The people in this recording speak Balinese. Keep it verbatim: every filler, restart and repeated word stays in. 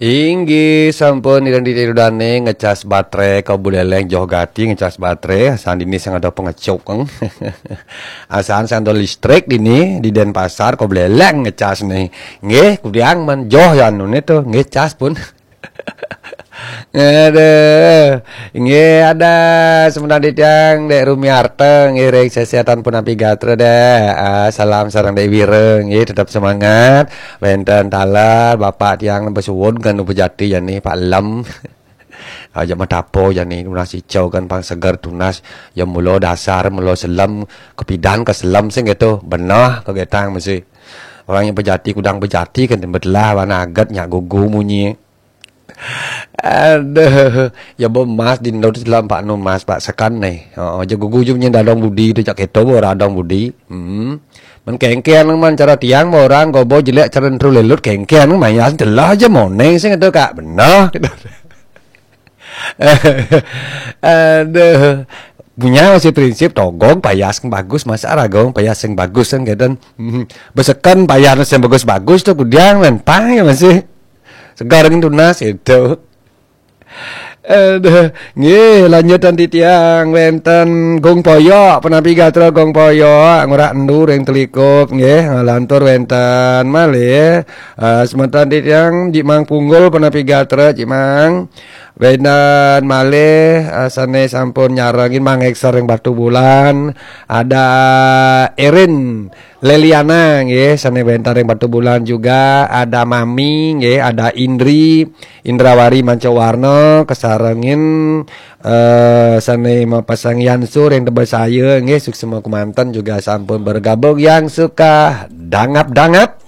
Inggih, sampun ireng ditiru dane ngecas baterai ka Buleleng, joh gati ngecas baterai, asan dini sing ada pengecuk, eng. Asan sing ada listrik dini di Denpasar ka Buleleng ngecas nih. Nggih, kudiang man joh ya anu nih tuh, nggih cas pun. Aduh, nggih ada semeton titiang Dek Rumiarta, nggih ring sesehatan punapi gatra deh. Ah, salam sareng Dek Wira, nggih tetap semangat. Wenten taler Bapak tiang besuwun kan upajati jani Pak Lem. Aja matapo jani tunas icau kan pang seger tunas. Ya mula dasar, mula selem, kepidan ke selem sing gitu. Benah kegetang mesti. Orang yang pejati kudang pejati kan betelah warna aget nyak gugu munyi. Aduh, ya bo mas di ndot selem Pak nu mas Pak sekan nih. Oh, aja gugu jum nyen dadong budi tu cak keto bo radong budi. Hmm. Men kengken man cara tiang bo orang gobo jelek cara entru lelut kengken mayas telah aja moneng sing itu kak benar. Aduh. Punya masih prinsip togong payas yang bagus masa ragong payas yang bagus kan gitu. Hmm. Besekan payas yang bagus-bagus tuh kudiang men pang ya masih segar gitu nas itu. Aduh, nggih lanjutan titiang wenten Gung Poyok, penapi gatra Gung Poyok, ngurah endur yang telikup nggih, lantur wenten malih. Eh, semeton titiang Jik Mang Punggul penapi gatra Jik Mang. Wenten malih eh, sane sampun nyarengin Mang Ekser yang Batu Bulan, ada Erin Leliana nggih sane wenten yang Batu Bulan juga, ada Mami nggih, ada Indri, Indrawari Mancawarna kesarengin eh sane mapasang Yansur yang tebas saya nggih suksema kemanten juga sampun bergabung yang suka dangap-dangap.